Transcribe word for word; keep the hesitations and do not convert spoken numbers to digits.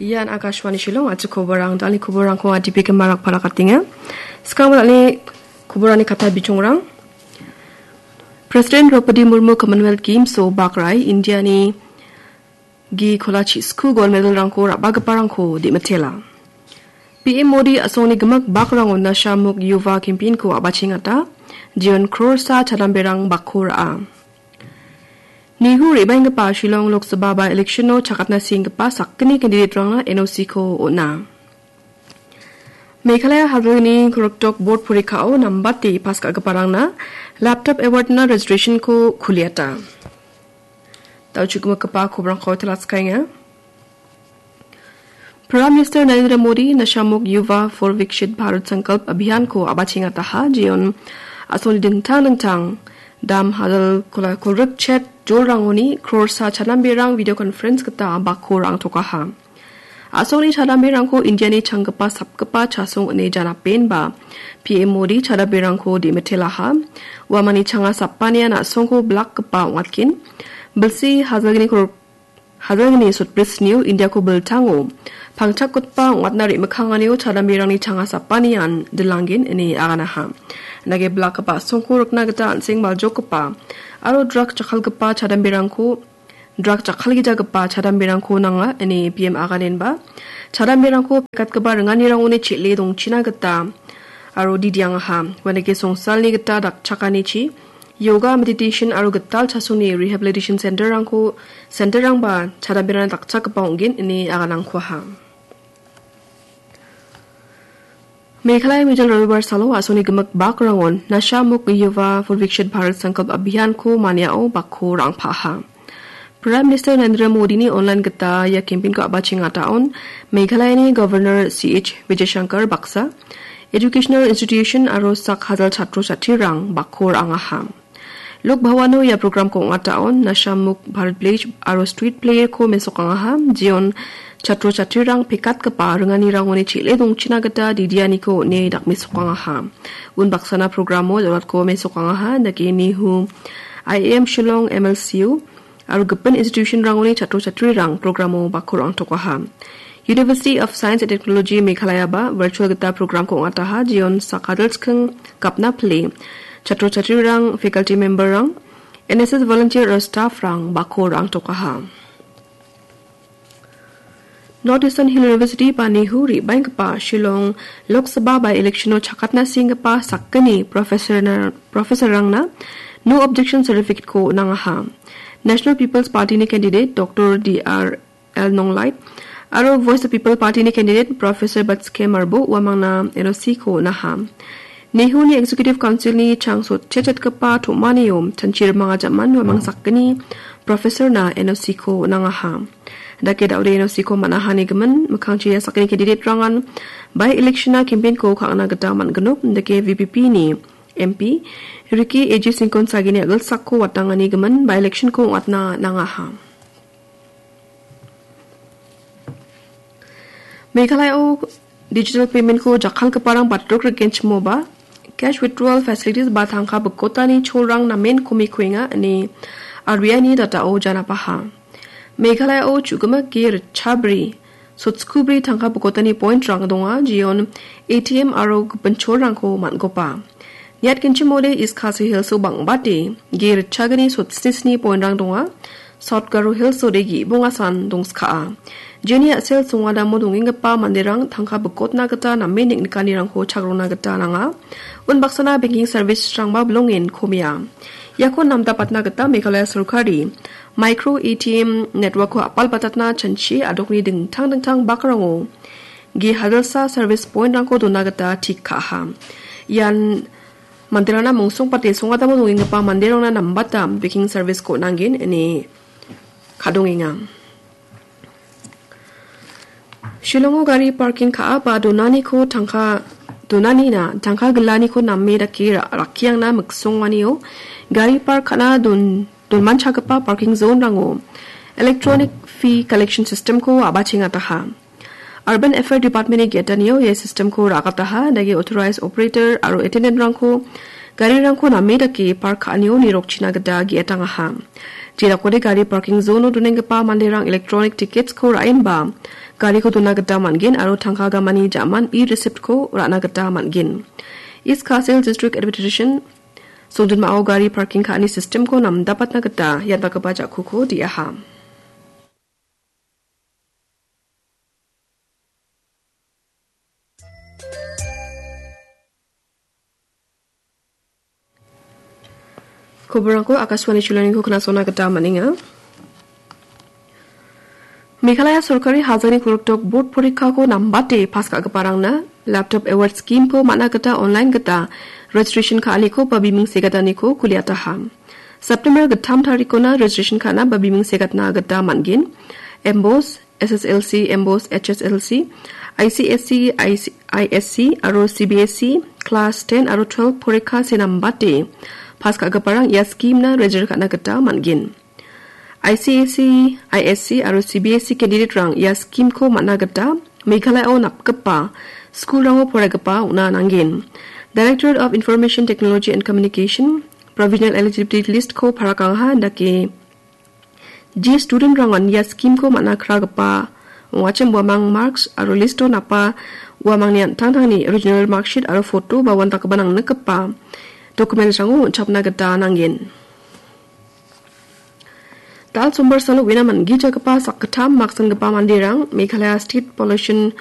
Ian Akashvani Shillong, achi koborang, dal·ni koborrangko adipe gimarak parakatenga. Skang dal·ni koborani kata bichongrang. President Draupadi Murmu Commonwealth Games-o bakrai Indiani gi kolachi sku gold medal-rangko ra·bagiparangko dimitela. P M Modi a·songni gimik bakrango Nasha Mukt Yuva campaign-ko a·bachengata, jeon crore-sa chadamberang bakko ra·a. Nehu re·baenggipa Shillong Lok Sabha by-election-o chakatna senggipa sakgni candidate-rangna N O C-ko on·a. Meghalaya Hazilgni Koroktok Board porikao nambate pass ka·giparangna laptop award-na registration-ko kuliata. Dal·chukgimikgipa kobrangko talatskaenga. Prime Minister Narendra Modi Nasha Mukt Yuva for Viksit Bharat Sankalp Abhiyan-ko a·bachengataha, jeon a·songni dingtang dingtang dam hazal kola kolgrik chet jolrangoni crore-sa chadamberang video conference gita bakko ra·angtokaha. A·songni chadamberangko Indiani changgipa sapgipa chasong ine janapenba P M Modi chadamberangko dimitelaha. Uamangni changa sapanian a·songko blakgipa ong·atgen. Bilsi Hazilgni kor-, Hazilgni sotbrisnio Indiako biltango pangchakgitba ong·atna re·mikkanganio chadamberangni changa sapanian dilanggen ine aganaha. Nage blakgipa a·songko rikna gita an·seng baljokgipa aro drug jakkalgipa chadamberangko, drug jakkalgijagipa chadamberangko nanga ine P M aganenba chadamberangko pekatgipa ringanirangoni chel·e dongchina gita aro didiangaha. Uanike songsalni gita dakchakanichi yoga, meditation aro gital chasongni rehabilitation center-rangko, center-rangba chadamberangna dakchakgipa ong·gen ine aganangkuaha. Meghalaya Mijil Rabibar salo a·songni gimik bakrangon Nasha Mukt Yuva for Viksit Bharat Sankalp Abhiyan-ko maniao bakko ra·angpaha. Prime Minister Narendra Modini online gita ia campaign-ko a·bachengataon Meghalayani Governor C H Vijayashankar baksa, educational institution aro sak hazal chatro chatrirang bakko ra·angaha. Lok Bhavano ia programko ong·ataon Nasha Mukt Bharat Pledge aro street play-ko mesokangaha, jeon chatro chatrirang pekatgipa ringanirangoni chel·e dongchina gita didianiko on·e dakmesokangaha. Unbaksana programo jolatko mesokangaha, dake Nehu, I I M Shillong, M L C U, aro gipin institution-rangoni chatro chatrirang programo bakko ra·angtokaha. University of Science and Technology Meghalaya-ba virtual gita programko ong·ataha, jeon sak hazal chikking gapna pile chatro chatrirang, faculty member-rang, N S S volunteer aro staff-rang bakko ra·angtokaha. North Eastern Hill University ba Nehu re·baenggipa Shillong Lok Sabha by-election-o chakatna senggipa sakgni professor-na-, professor-rangna no objection certificate-ko nangaha. National People's Party-ni candidate Doctor D R L Nonglait aro Voice of People Party-ni candidate Professor Batske Marbo uamangna N O C-ko naha. Nehu-ni Executive Council-ni changso chechetgipa tom·anio chanchi rimang ajaman uamang sakgni professor-na N O C-ko nangaha. Dake da·ode N O C-ko man·ahani gimin, mikkangchi ia sakgni candidate-rangan by-election-na campaign-ko ka·na gita man·gnok, dake V P P-ni M P Ricky A J Syngkon sagini a·gilsakko watangani gimin by-election-ko ong·atna nangaha. Meghalaya-o digital payment-ko jakkalgiparang batrok rikenchimoba, cash withdrawal facilities ba tangka bikotani cholrang namen komikuenga ine R B I-ni data-o janapaha. Meghalaya-o chu·gimik ge ritchabri, sotskubri tangka bikotani point-rang donga, jeon A T M aro gipin cholrangko man·gopa. Niatgenchimode East Khasi Hills-o bang·bate ge ritchagni sotsnisni point-rang donga. South Garo Hills-ode ge·bongasan dongskaa. Jeni a·sel songadamo dongenggipa manderang tangka bikotna gita namen neng·nikanirangko chagrona gita nanga. Unbaksana banking service-rangba bilongen komia. Iako namdapatna gita Meghalaya sorkari micro A T M network-ko apalbatatna chanchi a·dokni dingtang dingtang bakrango ge hajalsa service point-rangko dona gita tik ka·aha. Ian manderangna mongsongpate songadamo dongenggipa manderangna nambata banking service-ko on·angen ine ka·dongenga. Shillongo gari parking ka·a ba donaniko tangka, donanina tangka gilaniko name dake ra-, rakkiangna miksonganio gari park ka·na don-, donmanchagipa parking zone-rango electronic fee collection system-ko a·bachengataha. Urban Affair Department-ni ge·gitanio ia system-ko ra·akataha, dake authorized operator aro attendant-rangko garirangko name dake park ka·anio nirokchina gita ge·gitangaha. Jedakode gari parking zone-o donenggipa manderang electronic tickets-ko ra·enba gariko dona gita man·gen aro tangka gamani ja·man e-receipt-ko ra·na gita man·gen. East Khasi Hills District Administration songjinmao gari parking ka·ani system-ko namdapatna gita ian dakgipa ja·kuko de·aha. Koborangko Akashvani Shillongko knasona gita man·enga. Meghalaya sorkari hajani korokdok board porikako nambate pass ka·giparangna laptop award scheme-ko man·a gita online gita registration ka·aniko ba biming segataniko kuliataha. September gittam tarikona registration ka·na ba biming segatna gita man·gen. M bos, S S L C, M bos, H S L C, I C S E, I C, I S C aro C B S E class ten aro twelve porikka senambate pass ka·giparang ia scheme-na register ka·na gita man·gen. I C S E, I S C aro C B S E candidate-rang ia scheme-ko man·na gita Meghalaya-o napgipa school-rango poraigipa ong·na nanggen. Directorate of Information Technology and Communication provisional eligibility list-ko parakangha indake je student-rangan ia scheme-ko man·a kragipa ong·achim uamang marks aro list-o napa uamangni an·tangtangni original marksheet aro photo ba uandakgipa nangnikgipa document-rango on·chapna gita nanggen. Dal sombar salo uina man·gijagipa sakgittam maksanggipa manderang Meghalaya State Pollution